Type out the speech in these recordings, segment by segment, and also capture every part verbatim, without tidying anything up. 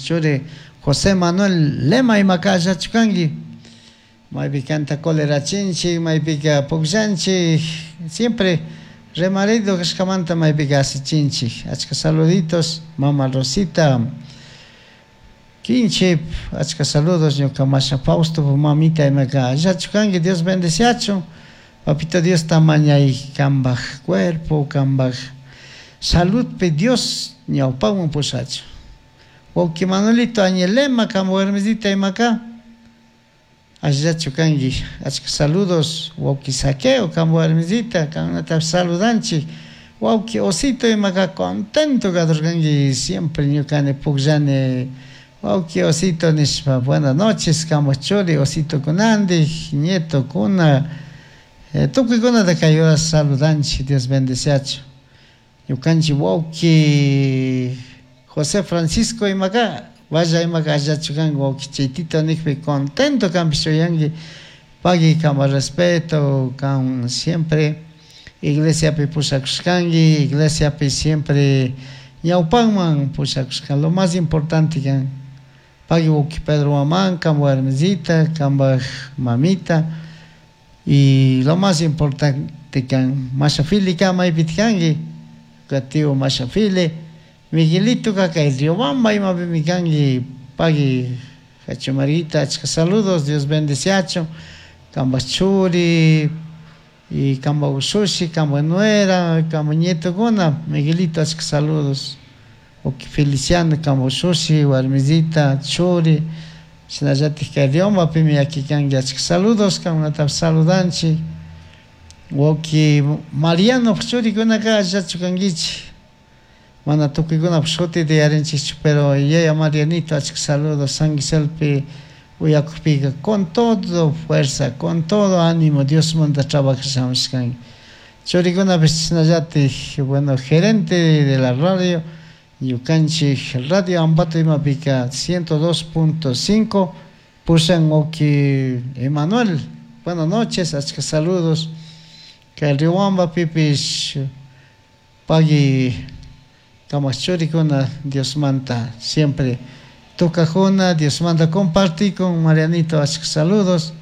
churi José Manuel Lema imaka allachu kanki maypika anta colerachinchik, maypika pukllanchik, siempre remarido kashkamanta maypika asichinchik. Achka saluditos mama Rosita Kinchip, achka saludos ñuka masha Fausto mamita imaka allachu kanki, Dios bendeciachun. Papito Dios mañay kambaj cuerpo, kambaj saludpi Dios ñawpaman pusachun. Wawki Manuelito Añelema kamba warmisita imaka allachu kanki, achka saludos wawki Saqueo kamba warmisita kanata saludanchik. Wawki Osito imaka contento kadurkanki siempre ñukani pukllani wawki Osito nishpa buenas noches kamba churi Osito kunandik nieto kuna eh, tukuykunata kay horas saludanchik, Dios bendeciachun. Ñukanchik wawki José Francisco imaka vaya imaka allachu kanki wawki Chaytito nikpi contento kanpish uyanki pagui kamba respeto kan siempre iglesiapi pushakushkanki, iglesiapi siempre ñawpanman pushakushkan, lo más importante kan pagui wawki Pedro Huamán kamba warmisita kambaj mamita y lo más importante kan masha Fili kan maypita kanki tío masha Fili Miguelito kay Riobamba imapimi kanki pagui Hacho Marita achka saludos, Dios bendeciachun kamba churi y kamba ushushi, kamba nuera, kamba nietokuna, Miguelito achka saludos. Wawki Feliciano kamba ushushi, warmisita, churi, shinallatik kay Riobambapimi yakikanki achka saludos, kankunata saludanchik. Wawki Mariano churikunaka allachu kankichik, mana tukuykunapuk shutita yarinchikchu, pero yaya Marianito achka saludos San Giselpi uyakukpika con todo fuerza, con todo ánimo Diosmanta trabajashamushkanki. Churikunapish chashnallatik, bueno, gerente de la radio ñukanchik Radio Ambato imapika ciento dos punto cinco pushan wawki Emanuel, buenas noches, achka saludos. Kay Riobambapipish pagui kamak churikuna Diosmanta siempre tukajuna, Diosmanta compartikun. Marianito achka saludos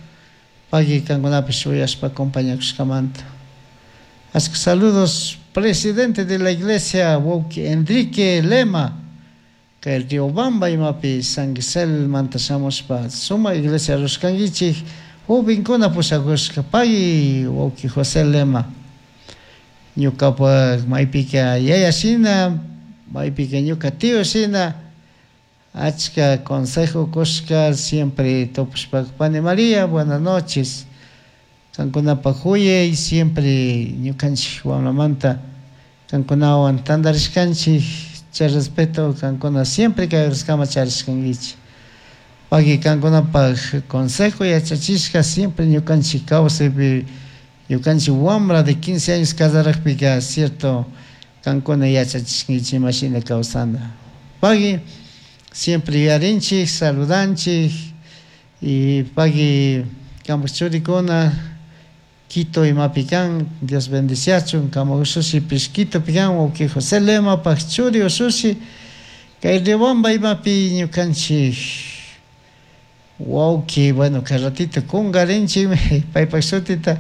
pagui kankunapish uyashpa acompañakushkamanta. Achka saludos presidente de la iglesia wawki Enrique Lema kay Riobamba imapi San Gisel manta shamushpa suma iglesia rushkankichik jovenkuna pushakushka pagui wawki José Lema ñukapak maypika yaya shina maypika ñuka tío shina achka consejo kushka siempre tupushpa pani María buenas noches kankunapak huyay siempre ñukanchik wamramanta kankunawan tantarishkanchik chay respeto kankuna siempre kay horaskamá charishkankichik. Pagui kankunapak consejo yachachishka siempre ñukanchik kawsaypi ñukanchik wambra de quince años casarakpika cierto kankuna yachachishkankichik imashina kawsana. Pagui siempre yuyarinchik saludanchik y pagui kampak churikuna Quito imapi kan, Dios bendeciachun, kama ushushipish Quitopi kan, wawki José Lemapak churi ushushi kay Riobamba imapi ñukanchik wawki, bueno, kay ratito kunkarinchikmi paypak shutita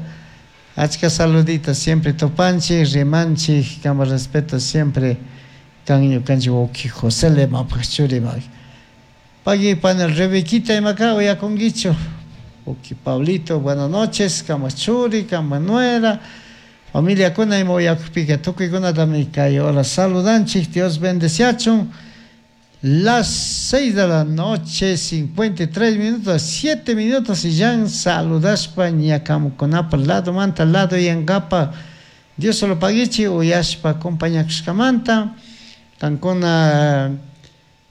achka saludita siempre tupanchik, rimanchik, kama respeto siempre kan ñukanchik wawki José Lemapak churi. Pagui pana Rebequita imaka uyakunkichu. Wawki Pablito, buenas noches, kama churi, kama nuera, familia kuna ima uyakukpika tukuykunatami kay hora saludanchik, Dios bendeciachun. Las seis de la noche, cincuenta y tres minutos, siete minutos y ya saludashpa ñakamukunapa lado manta lado yankapa Dios solo paguichi uyashpa acompañakushkamanta kankuna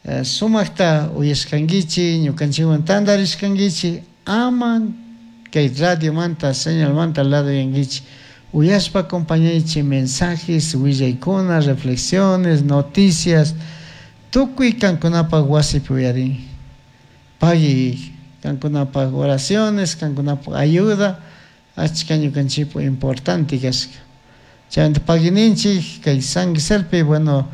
eh, sumakta uyashkankichi ñukanchikwan tantarishkankichi ama kay radio manta señal manta lado yankichi uyashpa acompañaychi mensajes willaykuna reflexiones noticias tukuy kankunapak wasipi uyarin pagui kankunapak oraciones kankunapak ayuda achka ñukanchikpu importante kashka chaymanta paguininchik kay San Giselpi bueno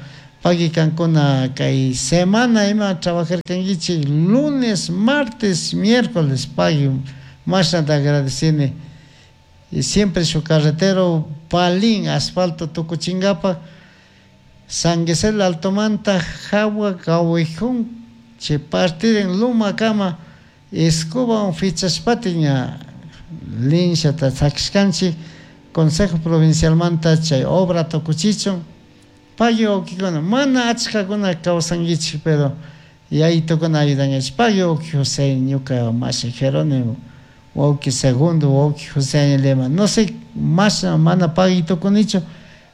Pagui kankuna kay semana ima trabajarkankichik lunes, martes, miércoles pagui mashnata agradecini. Y siempre su carretero palín asfalto tukuchinkapa San Gisel Altomanta hawa Gawijún chay partirin Lumakama escobawan fichashpati ña linshata sakishkanchik Consejo Provincialmanta chay obra tukuchichun. Pagui wawkikuna mana achkakuna kawsankichik pero yayitukuna ayudankichik. Pagui wawki José ñuka mashi Jerónimo wawki Segundo wawki José Añelema no sé mashna mana pagui tukunichu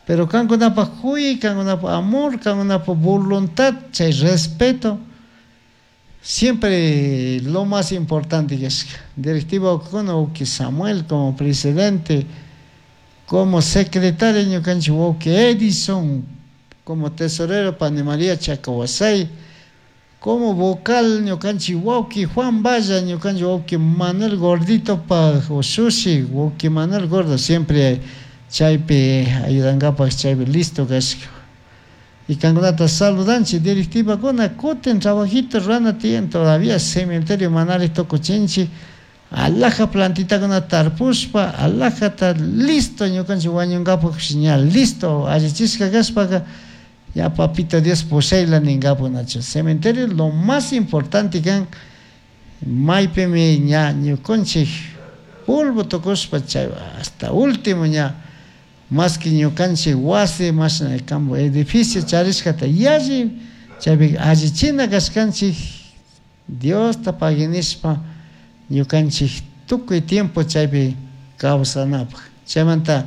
pero kankunapak kuyay, kankunapak amor, kankunapak voluntad, chay respeto siempre lo más importante kashka. Directiva wawkikuna wawki Samuel como presidente, como secretario ñukanchik wawki Edison, como tesorero pani María Chacahuasay, como vocal ñukanchik wawki Juan Valla, ñukanchik wawki Manuel Gordito pa ushushi, wawki Manuel Gordo siempre chaypi ayudankapak chaypi listo kashka. Y kankunata saludanchik directivakuna kutin trabajito rurana tiyan todavía cementerio manari tukuchinchik alhaja plantitakuna tarpushpa alhajata listo ñukanchik wañunkapak ña listo allichishka kashpaka ya papito Dios pushayla ninkapunachu. Cementerio lo más importante kan maypimi ña ñukanchik polvo tukushpa chay hasta último ña más que ñukanchik wasi mashna campo edificio charishkata yalli chaypi allichina kashkanchik Diosta paguinishpa ñukanchik tukuy tiempo chaypi kawsanapaq. Chaymanta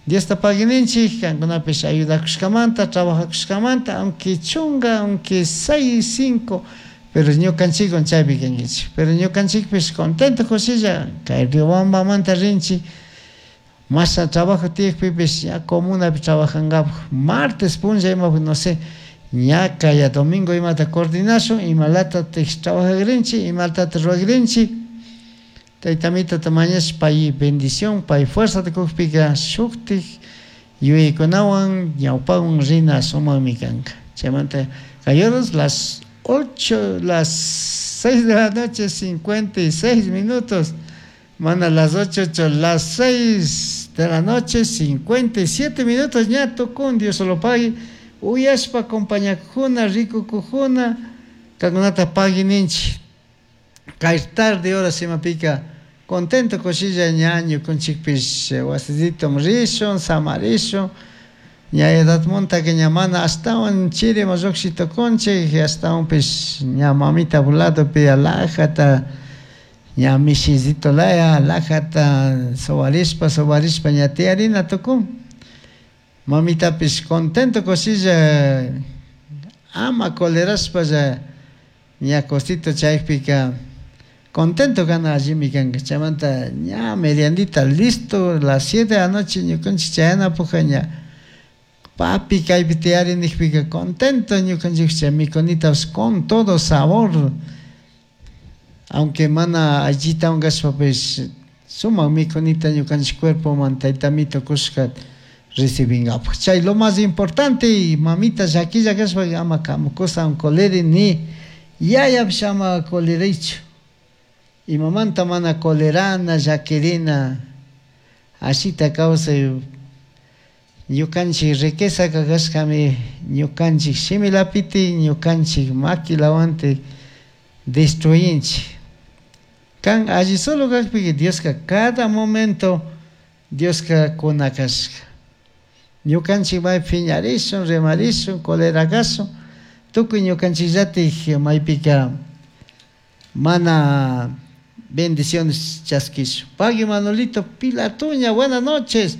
Diosta paguininchik kankunapish ayudakushkamanta trabajakushkamanta aunque chunga aunque seis cinco pero ñukanchikwan chaypi kankichik. Pero ñukanchikpish contento kushilla kay Riobambamanta rinchik mashna trabajo tiyakpipish ña comunapi trabajankapak martes punlla imapi no sé ña kaya domingo imata coordinashun imalatatik trabajakrinchik imatata rurakrinchik taytamitata mañashpa pay bendición pay fuerzata kukpika shuktik yuyaykunawan ñawpawan rina sumakmi kanka. Chaymanta kay horas las ocho, las seis de la noche cincuenta y seis minutos mana las ocho, ocho, las seis de la noche cincuenta y siete minutos ña tukun Dios lo pague uyashpa acompañakuna rikukujuna kankunata pagui ninchik. Kay tarde horas imapika contento kushilla ña ñukanchikpish wasisitom rishun samarishun ña edadmuntaka ña mana ashtawan chiriman lluqshi tukunchik ashtawanpish ña mamita ladopi alhajata ña mishisito laya alhajata sobarishpa sobarishpa ña tiyarina tukun. Mamitapish contento kushilla ama colerashpalla ña cosito chaypika contento kana allimi kanka. Chaymanta ña meriandita listo las siete de la noche ñukanchik chayanapuja ña papi kaypi tiyari nijpika contento ñukanchik chay mikunitapish con todo sabor aunque mana allita unkashpapish sumak mikunita ñukanchik cuerpoman taytamito kushka recibinkapak. Chay lo más importante y mamita llakilla kashpa ama kamukusa coleri ni yayapish ama colerichu. Imamanta mana colerana llakirina ashita kawsay ñukanchik riqueza kashkami ñukanchik shimilapiti ñukanchik makilawanti destruyinchik. Kan alli solo kakpika Dioska cada momento Dioska kuna kashka. Ñukanchik may phiñarishun rimarishun colera kashun tukuy ñukanchikllatik maypika mana bendiciones chaskishun. Pagui Manolito Pilatuña, buenas noches.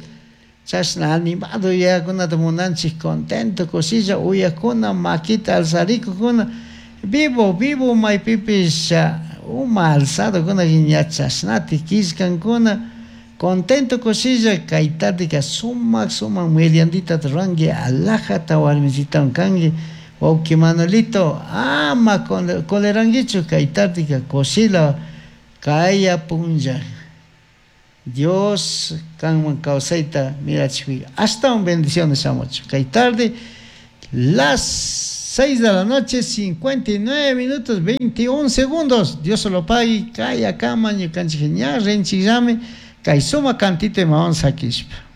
Chashna animado yakunata munanchik contento kushilla uyakuna makita alzarikukuna vivo vivo maypipish uma alzado kuna ña chashnati killkankuna contento kushilla kay tardeka sumak sumak meriandita ruranki alhajata warmisitawan kanki wawki Manolito ama colerankichu kay tardeka kushilla kaya punlla Dios kanman kawsayta mirachikpi ashtawan bendiciones shamuchun. Kay tarde Las seis de la noche, cincuenta y nueve minutos, veintiún segundos. Dios se lo pague, kaya kama, ñukanchik ña rinchikllami, kay suma cantito imawan sakishpa.